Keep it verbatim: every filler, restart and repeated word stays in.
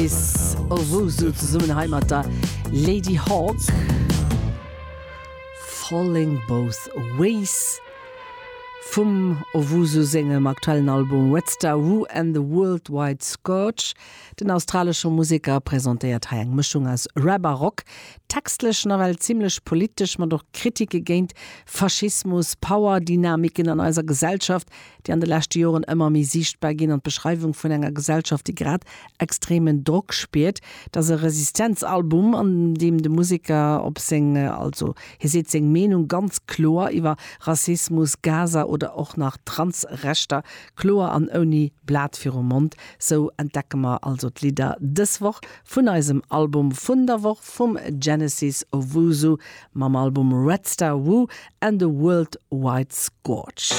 Genesis Owusu zesummen hei mat der Ladyhawke. Falling Both Ways vum Owusu sengem aktuellen Album Red Star Wu and the Worldwide Scourge. Den australesche Museker presentéiert hei eng Mëschung aus Rap a Rock, textlech nawell zimmlech politesch, mat och Kritike géint Faschismus, Powerdynamiken an eiser Gesellschaft, déi an de leschte Joren ëmmer méi siichtbar ginn an d'Beschreiwung vun enger Gesellschaft, déi grad extremen Drock spiert. Dat ass e Resistenzalbum, an deem de Museker op seng also hie seet seng Meenung ganz kloer iwwer Rassismus, Gaza oder och nach Transrechter kloer an ouni Blat virum Mond. Sou entdecke mer also d'Lidder dës Woch vun eisem Album vun der Woch vum Genesis Owusu mam Album Red Star Wu and the Worldwide Scourge.